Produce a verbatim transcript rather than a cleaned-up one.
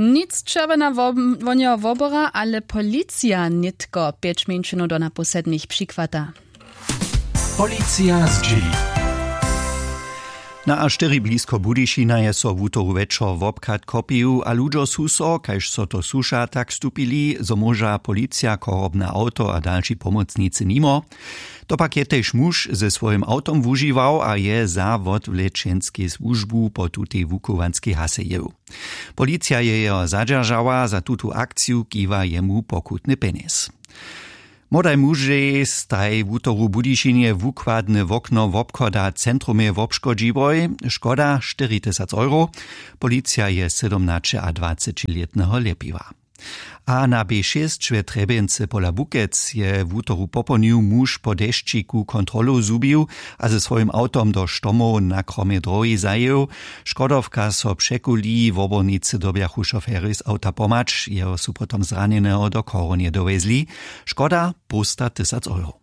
Nic čerwjena wonjeho wobora, ale policija nětko pjeć mjeńšinow do napołsednich přichwata. Policija zdźěli. Na a štyri blisko budyšina je so wutoru wječor wobchad kopił a ludźo su so, kaž so to słuša, tak stupili, zo móža policija chorobne awto a dalši pomocnicy nimo. To pak je tež muž ze swojim awtom wužiwał a je za wotwlečenskej słužbu po tutej wuchowanskej hasejěł. Policija je jeho zadźeržała, za tutu akciju kiwa jemu pokutny pjenjez. Młodaj mužej staj wutoru w budyšinje wukładne wokno wobchoda w centrumje wobškodźiłoj. Škoda štyri tysac euro. Policija je sydomnaćeadwacećilětneho ljepiła. A na b šěsć we trjebjency pola bukec je wutoru popołdnił muž po dešćiku kontrolow zhubił a ze swojim awtom do štomow na kromje drohi zajěł. Škodowka so překuli, wobornicy dyrbjachu šoferjej z awta pomhać, jeho su potom zranjeneho do chorunje dowjezli. Škoda połsta tysac euro.